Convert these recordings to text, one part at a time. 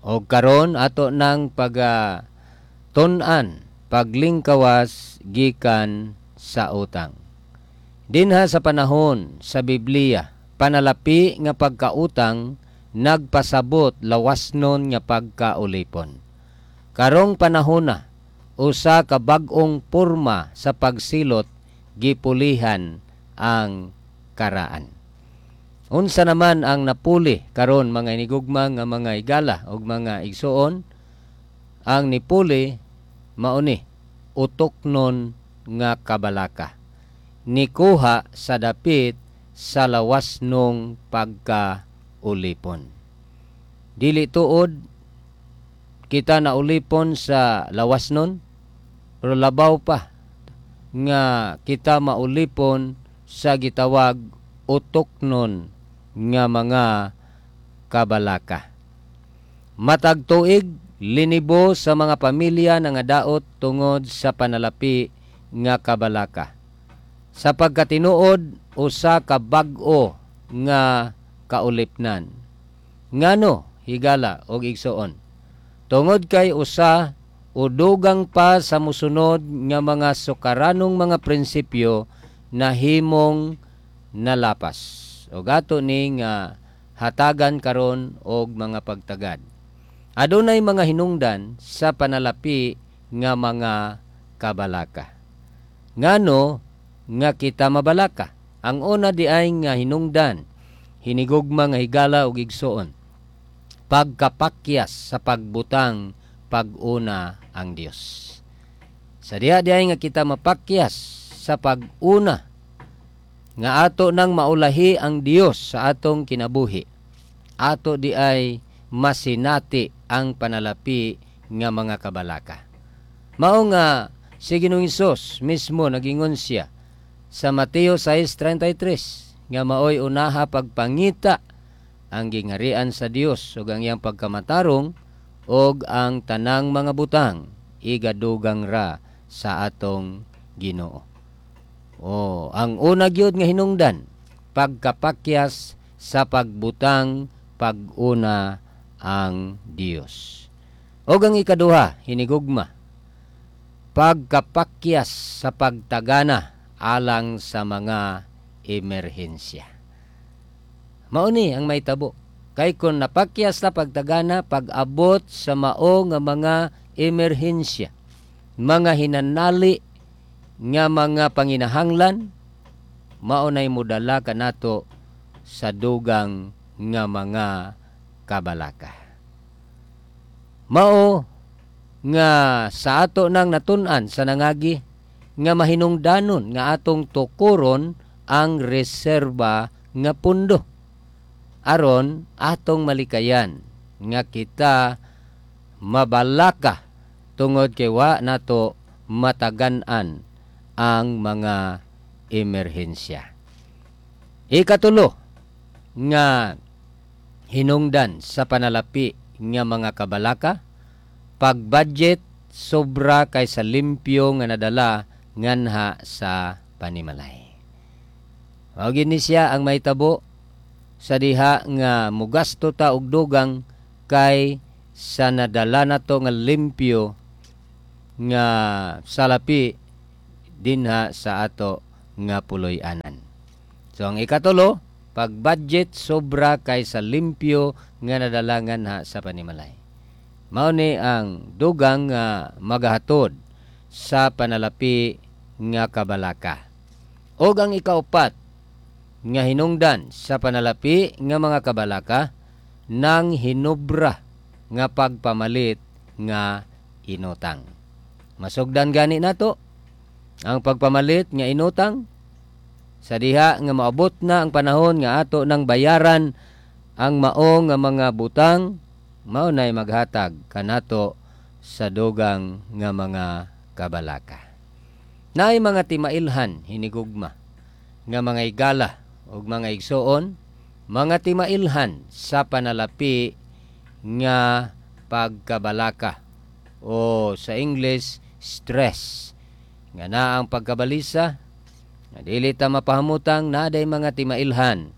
Og karon ato nang pag tun-an paglingkawas gikan sa utang. Dinha sa panahon sa Biblia, panalapi nga pagkautang nagpasabot lawasnon nga pagkaulipon. Karong panahona, usa ka bag-ong porma sa pagsilot gipulihan ang karaan. Unsa naman ang napuli karon, mga inigugma nga mga igala ug mga igsuon? Ang nipuli mao ni utoknon nga kabalaka. Nikuha sa dapit sa lawasnong pagkaulipon. Dili tuod kita na ulipon sa lawasnon, pero labaw pa nga kita maulipon sa gitawag utoknon nga mga kabalaka. Matag tuig, linibo sa mga pamilya nangadaot tungod sa panalapi nga kabalaka. Sa pagkatinuod, usa ka bag-o nga kaulipnan. Ngano, higala og igsuon? Tungod kay usa o dugang pa sa musunod nga mga sukaranong mga prinsipyo nahimong nalapas. Og ato ni nga hatagan karon og mga pagtagad. Adunay mga hinungdan sa panalapi nga mga kabalaka. Ngano nga kita mabalaka? Ang una di ay nga hinungdan, hinigugma nga higala ug igsuon, pagkapakyas sa pagbutang pag-una ang Dios. Sa diha di ay nga kita mapakyas sa pag-una nga ato nang maulahi ang Dios sa atong kinabuhi, ato di ay masinati ang panalapi nga mga kabalaka. Mao nga si Ginoong Hesus mismo nagingon siya sa Mateo 6:33 nga maoy unaha pagpangita ang gingarian sa Dios ug ang iyang pagkamatarong, ug ang tanang mga butang igadugang ra sa atong Ginoo. Oh, ang una gyud nga hinungdan, pagkapakyas sa pagbutang pag-una ang Dios. Og ang ikaduha, hinigugma, pagkapakyas sa pagtagana alang sa mga emerhensya. Mao ni ang mahitabo. Kay kung napakyas na pagtagana, pag-abot sa mao nga mga emerhensya, mga hinanali nga mga panginahanglan, mao nay modala kanato sa dugang nga mga kabalaka. Mao nga sa ato nang natun-an sa nangagi nga mahinungdanon nga atong tukuron ang reserba nga pundo aron atong malikayan nga kita mabalaka tungod kay wa nato matagan-an ang mga emerhensya. Ikatulo nga hinungdan sa panalapi nga mga kabalaka, pag-budget sobra kaysa limpyo nga nadala nganha sa panimalay. Mao gini siya ang mahitabo sa diha nga mugasto ta og dugang kay sa nadala nato nga limpyo nga salapi dinha sa ato nga puloy-anan. So ang ikatulo, pag-budget sobra kaysa limpyo nga nadala nganha sa panimalay. Mao ni ang dugang nga magahatod sa panalapi nga kabalaka. Og ang ikaupat nga hinungdan sa panalapi nga mga kabalaka, nang hinubra nga pagpamalit nga inutang. Masugdan gani nato ang pagpamalit nga inutang sa diha nga maabot na ang panahon nga ato nang bayaran ang mao nga mga butang, mao nay maghatag kanato sa dugang nga mga kabalaka. Naay mga timailhan, hinigugma nga mga igala ug mga igsuon, mga timailhan sa panalapi nga pagkabalaka o sa English, stress. Nga naa ang pagkabalisa nga dili ta mapahamutang naday mga timailhan,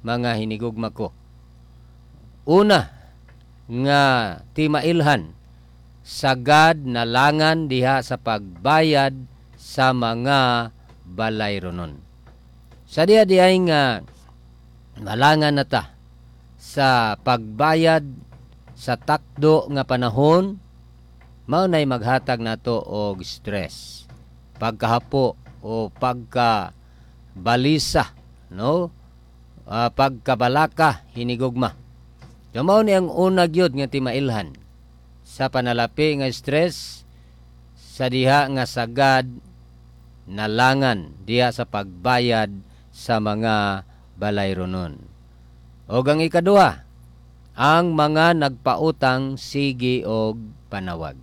mga hinigugma ko. Una nga timailhan, sagad nalangan diha sa pagbayad sa mga balayronon. Sa diha diay nga malangan na ta sa pagbayad sa takdo nga panahon, mao nay maghatag nato og stress, pagkahapo o pagka balisa, no, pagkabalaka hinigugma. So mao ni ang una gyud nga timailhan sa panalapi nga stress, sa diha nga sagad nalangan diha sa pagbayad sa mga balayronon. Og ang ikaduha, ang mga nagpautang sige og panawag.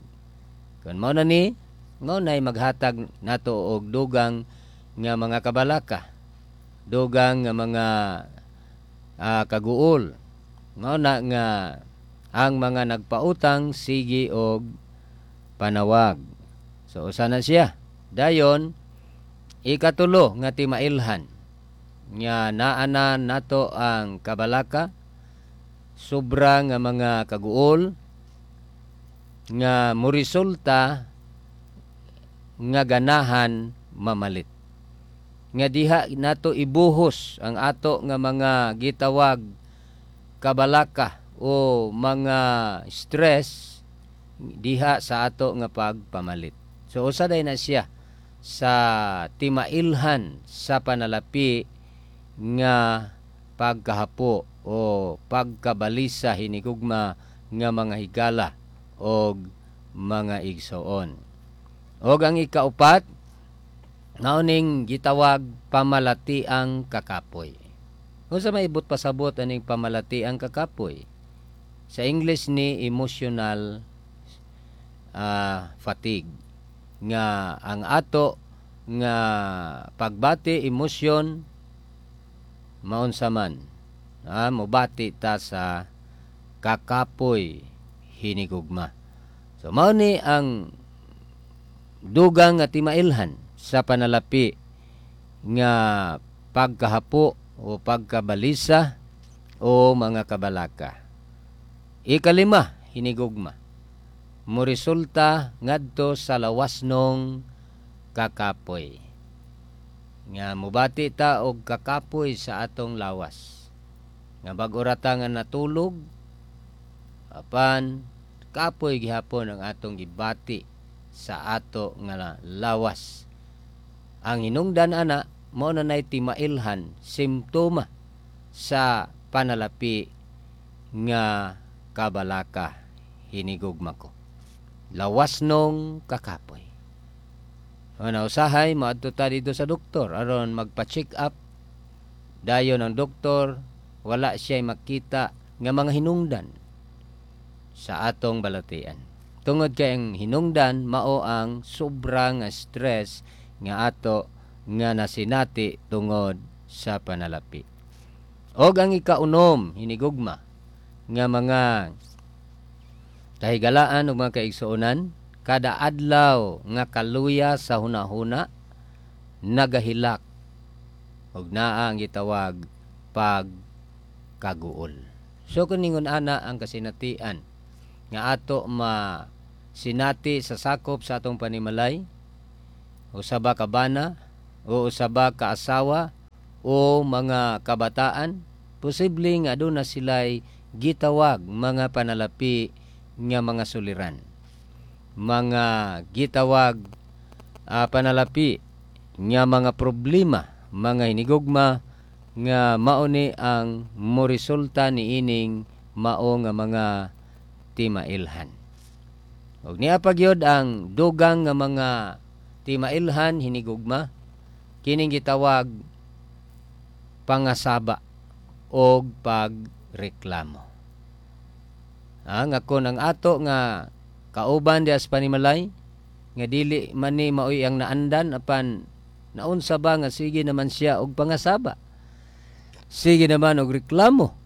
Kun mao na ni, mao nay maghatag nato og dugang nga mga kabalaka, dugang nga mga kaguol. Mao na nga ang mga nagpautang sige og panawag. So usa na siya. Dayon, ikatulo nga timailhan nga naana nato ang kabalaka, sobra nga mga kaguol nga moresulta nga ganahan mamalit, nga diha nato ibuhos ang ato nga mga gitawag kabalaka o mga stress diha sa ato nga pagpamalit. So usa day na siya sa timailhan sa panalapi nga pagkahapo o pagkabalisa hinigugma nga mga higala og mga igsoon. Og ang ikaupat, nauning gitawag pamalati ang kakapoy. Unsa may ibot pasabot aning pamalati ang kakapoy? Sa English ni emotional fatigue, nga ang ato nga pagbati emosyon maunsa man, mobati ta sa kakapoy hinigugma. So mao ni ang dugang nga timailhan sa panalapi nga pagkahapo o pagkabalisa o mga kabalaka. Ikalima hinigugma, moresulta ngadto sa lawasnong kakapoy, nga mobati ta og kakapoy sa atong lawas, nga bag-o ra ta nga natulog apan kapoy gihapon ang atong gibati sa ato nga lawas. Ang hinungdan ana mao na nay timailhan, simptoma sa panalapi nga kabalaka hinigugma ko, lawasnong kakapoy. Ano, usahay maadto ta dito sa doktor aron magpa-check up. Dayon ang doktor wala siya makita nga mga hinungdan sa atong balatian, tungod kay ang hinungdan mao ang sobrang stress nga ato nga nasinati tungod sa panalapi. Og ang ikaunom hinigugma nga mga kahigalaan ug mga kaigsuonan, kada adlaw nga kaluya sa hunahuna nagahilak og naa ang gitawag pagkaguol. So kun ningon ana ang kasinatian nga ato ma sinati sa sakop sa atong panimalay, usa ba ka bana o usa ba ka asawa o mga kabataan, posible nga aduna sila'y gitawag mga panalapi nga mga suliran, mga gitawag panalapi nga mga problema, mga hinigugma nga mauni ang moresulta niining mao nga mga timailhan. Og niya pagyod ang dugang nga mga timailhan hinigugma, kining gitawag pangasaba og pagreklamo. Nga kon ang ato nga kauban diha sa panimalay nga dili man ni maoy ang naandan, apan naunsa ba nga sige naman siya og pangasaba, sige naman og reklamo.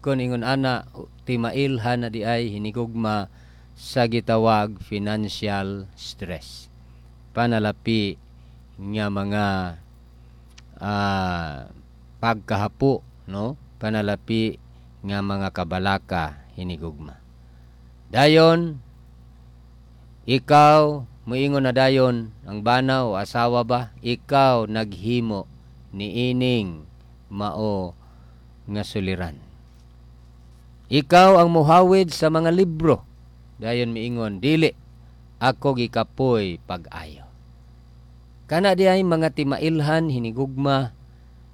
Kon ingon ana, timailhan na di ay hinigugma sa gitawag financial stress, panalapi nga mga pagkahapo, no, panalapi nga mga kabalaka hinigugma. Dayon ikaw moingon na dayon ang bana o asawa ba, ikaw naghimo niining mao nga suliran. Ikaw ang muhawid sa mga libro. Dayon miingon, dili, ako gikapoy pag-ayo. Kana di ay mga timailhan, hinigugma,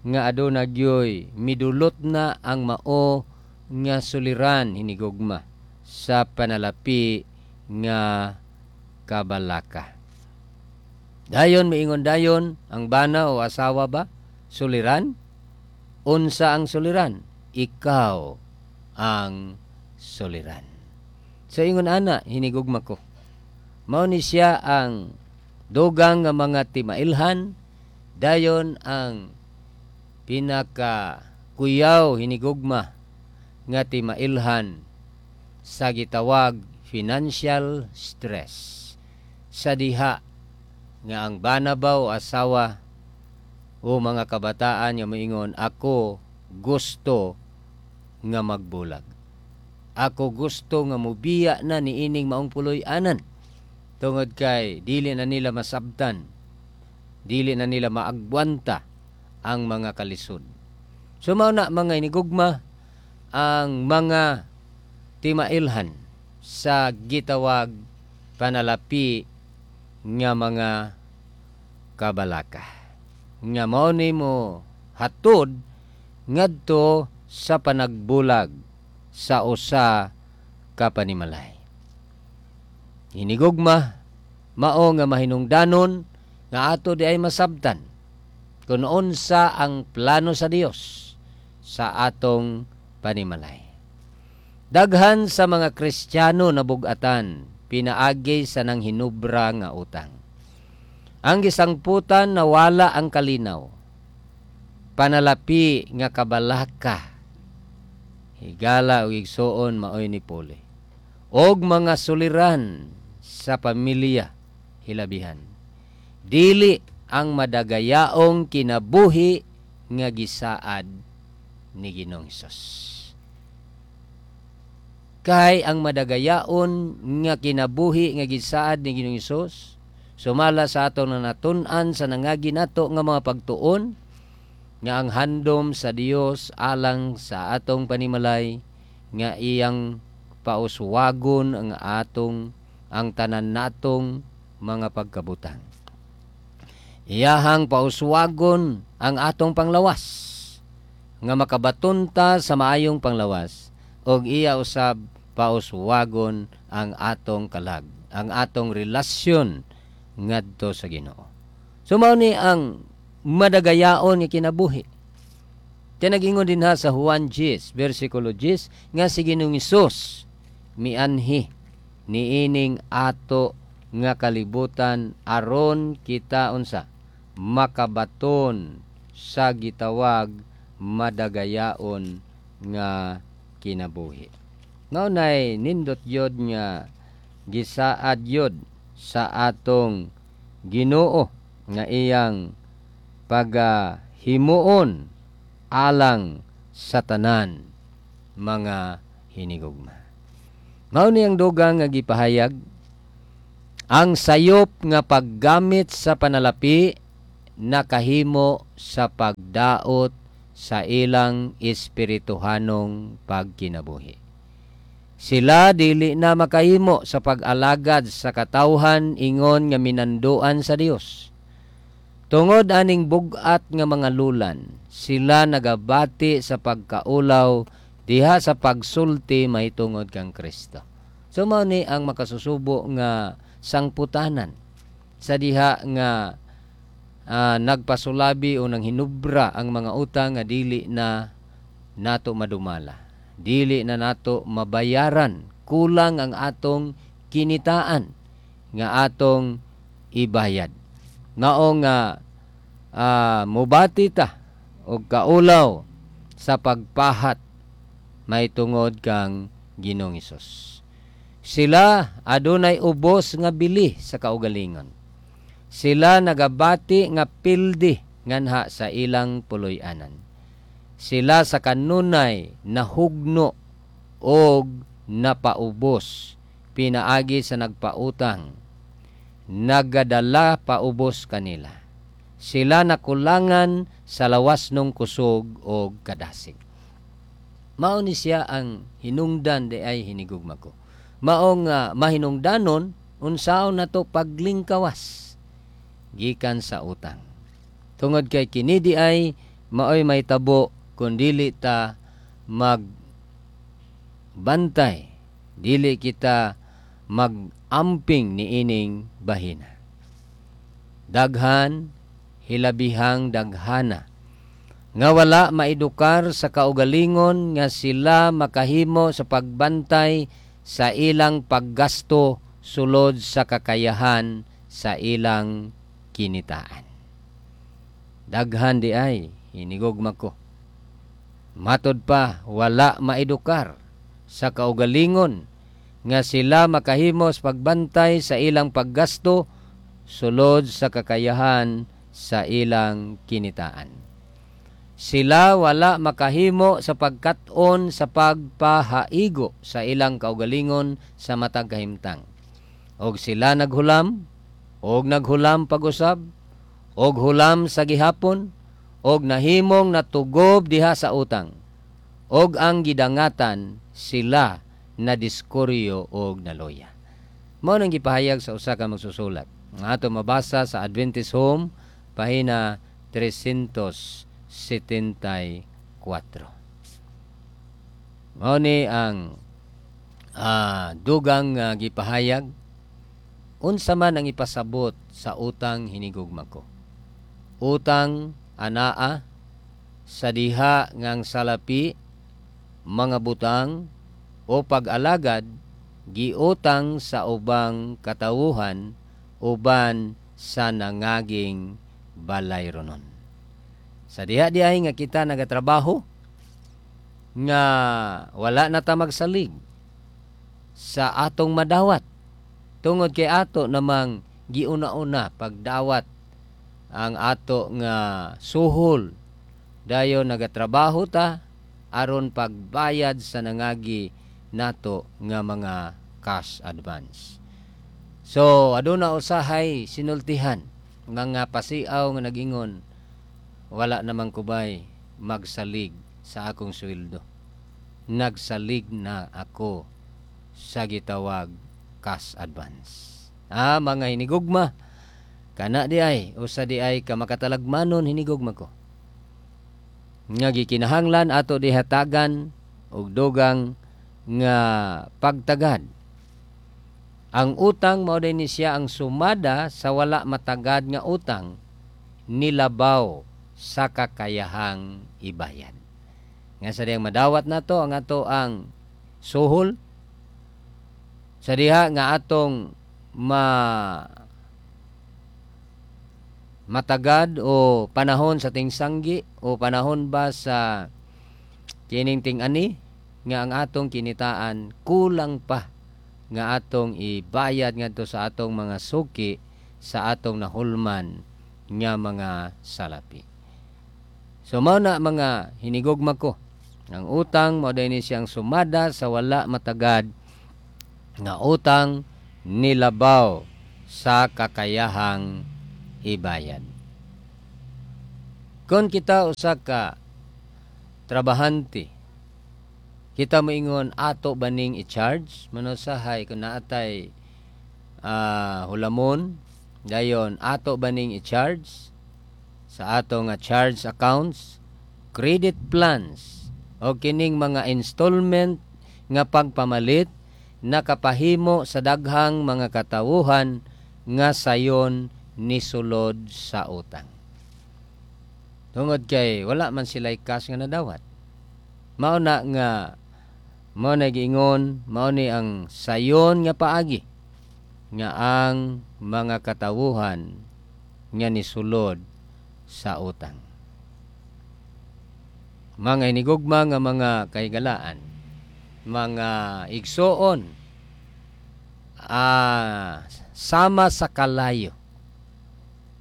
nga aduna gyoy midulot na ang mao nga suliran, hinigugma, sa panalapi nga kabalaka. Dayon miingon dayon ang bana o asawa ba, suliran? Unsa ang suliran? Ikaw ang suliran. Sa ingon ana, hinigugma ko, mao ni siya ang dugang nga mga timailhan, dayon ang pinaka kuyaw, hinigugma, nga timailhan sa gitawag financial stress, sa diha nga ang bana ba o asawa o mga kabataan nga moingon, ako gusto nga magbulag. Ako gusto nga mubiya na niining maong puloy-anan. Tungod kay dili na nila masabtan, dili na nila maagwanta ang mga kalisod. So mao na, mga inigugma, ang mga timailhan sa gitawag panalapi nga mga kabalaka, nga mao nimo hatod ngadto sa panagbulag sa usa ka panimalay. Hinigugma, mao nga mahinungdanon nga ato di ay masabtan kung unsa ang plano sa Dios sa atong panimalay. Daghan sa mga Kristiyano na bugatan pinaagi sa nang hinubra nga utang. Ang gisangputan, nawala ang kalinaw. Panalapi nga kabalaka. Higala og igsuon, maoy ni puli. Og mga suliran sa pamilya hilabihan. Dili ang madagayaong kinabuhi nga gisaad ni Ginoong Hesus. Kay ang madagayaon nga kinabuhi nga gisaad ni Ginoong Hesus sumala sa atong natun-an sa nangagi nato nga mga pagtuon, nga ang handom sa Dios alang sa atong panimalay nga iyang pauswagon ang atong ang tanan natong mga pagkabutang. Iyahang pauswagon ang atong panglawas nga makabaton ta sa maayong panglawas, og iya usab pauswagon ang atong kalag, ang atong relasyon ngadto sa Ginoo. So mao ni ang madagayaon nga kinabuhi. Kaya nag-ingon din ha sa Juan 10, versikulo 10, nga si Ginoong Hesus mianhi niining ato nga kalibutan aron kita unsa makabaton sa gitawag madagayaon nga kinabuhi. Mao nay nindot yod nga gisaad yod sa atong Ginoo nga iyang pagahimuon alang sa tanan, mga hinigugma. Mao ni ang dugang nga gipahayag: ang sayop nga paggamit sa panalapi nakahimo sa pagdaot sa ilang espirituhanong pagkinabuhi. Sila dili na makahimo sa pag-alagad sa katawhan ingon nga minanduan sa Dios. Tungod aning bugat nga mga lulan, sila nagabati sa pagkaulaw diha sa pagsulti mahitungod kang Kristo. So mao ni ang makasusubo nga sangputanan sa diha nga nagpasulabi o nang hinubra ang mga utang nga dili na nato madumala, dili na nato mabayaran, kulang ang atong kinitaan nga atong ibayad. Mao nga mubati ta og kaulaw sa pagpahat mahitungod kang Ginoong Hesus. Sila adunay ubos nga bili sa kaugalingon. Sila nagabati nga pildi nganha sa ilang puloy-anan. Sila sa kanunay nahugno og napaubos pinaagi sa nagpautang nagadala paubos kanila. Sila nakulangan sa lawas nung kusog og kadasig. Mao ni siya ang hinungdan di ay, hinigugma ko. Mao nga mahinungdanon unsaon nato paglingkawas gikan sa utang. Tungod kay kini di ay maoy mahitabo kung dili ta magbantay, dili kita magamping niining bahina. Daghan, hilabihang daghana nga wala maedukar sa kaugalingon nga sila makahimo sa pagbantay sa ilang paggasto sulod sa kakayahan sa ilang kinitaan. Daghan di ay, hinigugma ko. Matod pa, wala maedukar sa kaugalingon nga sila makahimo sa pagbantay sa ilang paggasto sulod sa kakayahan sa ilang kinitaan. Sila wala makahimo sa pagkat-on sa pagpahaigo sa ilang kaugalingon sa matag kahimtang. Og sila naghulam, og naghulam pag-usab, og hulam sa gihapon, og nahimong natugob diha sa utang. Og ang gidangatan, sila na diskuryo og naloya. Mao nang gipahayag sa usa ka magsusulat nga ato mabasa sa Adventist Home, pahina 374. Mao ni ang dugang gipahayag. Unsa man ang ipasabot sa utang, hinigugma ko? Utang anaa sa diha nga ang salapi, mga butang o pag-alagad giutang sa ubang katawuhan uban sa nangaging balayronon. Sa diha di ay nga kita nagatrabaho nga wala na ta magsalig sa atong madawat tungod kay ato namang giuna-una pagdawat ang ato nga suhol, dayon nagatrabaho ta aron pagbayad sa nangagi nato nga mga cash advance. So aduna usahay sinultihan mga pasiaw nga nagingon, "Wala namang kubay magsalig sa akong sweldo. Nagsalig na ako sa gitawag cash advance." Ah, mga hinigugma, kana di ay usa di ay ka makatalagmanon, hinigugma ko, nga gikinahanglan ato dihatagan og dugang nga pagtagad. Ang utang mao ni siya ang sumada sa wala matagad nga utang nilabaw sa kakayahang ibayad. Nga sa diyang madawat nato ang ato ang suhol, sa diha nga atong matagad o panahon sa tingsanggi o panahon ba sa kining ting-ani nga ang atong kinitaan kulang pa nga atong ibayad ngadto sa atong mga suki sa atong nahulman nga mga salapi. So mao na, mga hinigugma ko, ang utang mao ni siyang sumada sa wala matagad nga utang nilabaw sa kakayahang ibayad. Kung kita usa ka trabahante, kita moingon, ato baning i-charge manusahay kung naatay hulamon, dayon ato baning i-charge sa ato nga charge accounts? Credit plans o kining mga installment nga pagpamalit nakapahimo sa daghang mga katawuhan nga sayon nisulod sa utang. Tungod kay wala man sila cash nga nadawat. Mao na nga mao na giingon, mao ni ang sayon nga paagi nga ang mga katawuhan nga nisulod sa utang. Mga inigugma nga mga kahigalaan, mga igsoon, sama sa kalayo,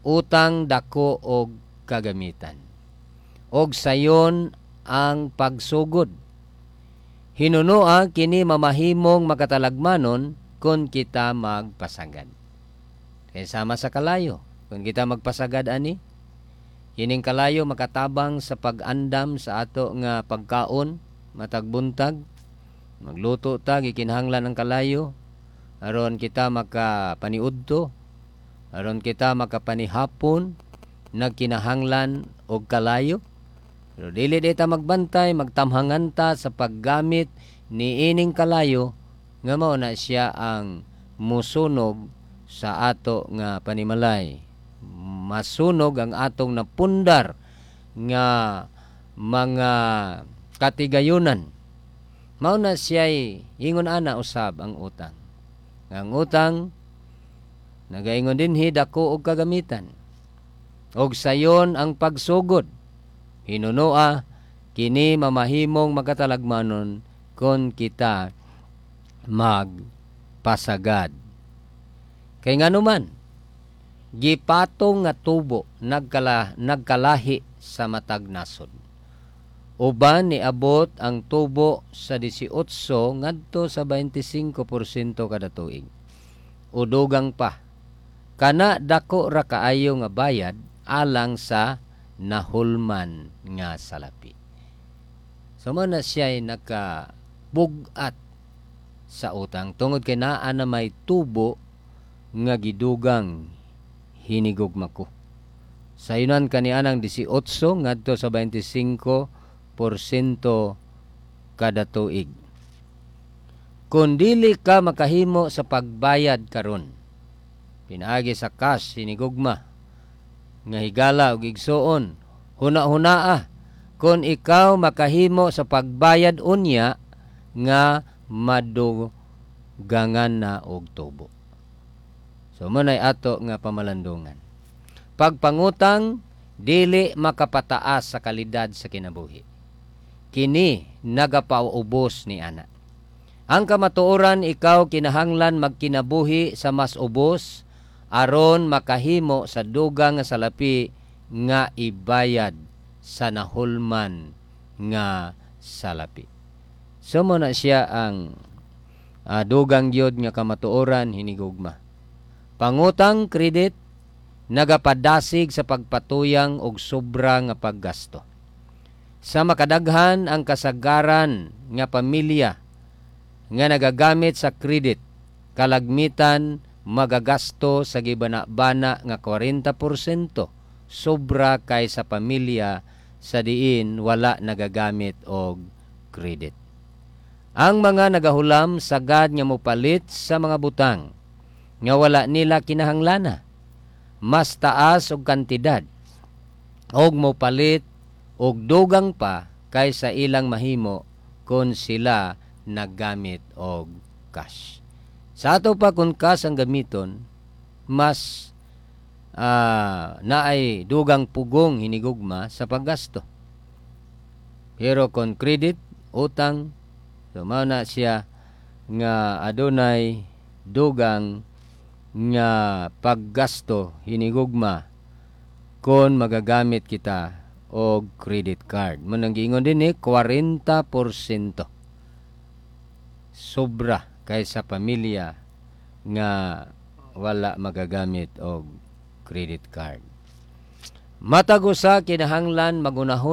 utang dako og kagamitan. Og sayon ang pagsugod. Hinunoa kini mamahimong makatalagmanon kung kita magpasagad. Kay sama sa kalayo, kung kita magpasagad ani, kining kalayo makatabang sa pag-andam sa ato nga pagkaon matag buntag. Magluto ta, gikinahanglan ang kalayo aron kita makapaniudto, aron kita makapanihapon, nagkinahanglan og kalayo. Pero dili di ta magbantay, magtamhangan ta sa paggamit ni ining kalayo nga mao na siya ang musunog sa ato nga panimalay. Masunog ang atong napundar nga mga katigayunan. Mao na siya'y ingon ana usab ang utang. Ang utang nagaingon dinhi, dako og kagamitan. Og sayon ang pagsugod. Hinunoa kini mamahimong makatalagmanon kon kita magpasagad. Kay nganuman, gipatong nga tubo nagkalahi sa matag nasod. Uban niabot ang tubo sa 18 ngadto sa 25% kada tuig. Udugang pa. Kana dako ra kaayo nga bayad alang sa nahulman nga salapi. So mo na siya'y nakabugat sa utang tungod kay naa na may tubo nga gidugang, hinigugma ko. Sayunan kanianang 18 ngadto sa 25% kada tuig. Kung dili ka makahimo sa pagbayad karon pinaagi sa cash, hinigugma nga higala og igsuon, huna-hunaa kung ikaw makahimo sa pagbayad unya nga madugangan na og tubo. So mo nay ato nga pamalandungan. Pagpangutang dili makapataas sa kalidad sa kinabuhi. Kini nagapaubos ni ana. Ang kamatuoran, ikaw kinahanglan magkinabuhi sa mas ubos aron makahimo sa dugang nga salapi nga ibayad sa nahulman nga salapi. So mo na siya ang dugang gyud nga kamatuoran, hinigugma. Pangutang credit nagapadasig sa pagpatuyang og sobra nga paggasto. Sa makadaghan, ang kasagaran nga pamilya nga nagagamit sa credit kalagmitan magagasto sa gibana-bana nga 40% sobra kaysa pamilya sa diin wala nagagamit og credit. Ang mga nagahulam sagad nga mopalit sa mga butang nga wala nila kinahanglana, mas taas og kantidad og mopalit og dugang pa kaysa ilang mahimo kung sila naggamit og cash. Sa ato pa, kung cash ang gamiton, mas naay dugang pugong, hinigugma, sa paggasto. Pero kung credit, utang, so mao na siya nga adunay dugang nga paggasto, hinigugma, kung magagamit kita og credit card. Mo nang giingon dinhi, 40% sobra kaysa pamilya nga wala magagamit og credit card. Matag usa kinahanglan magunahon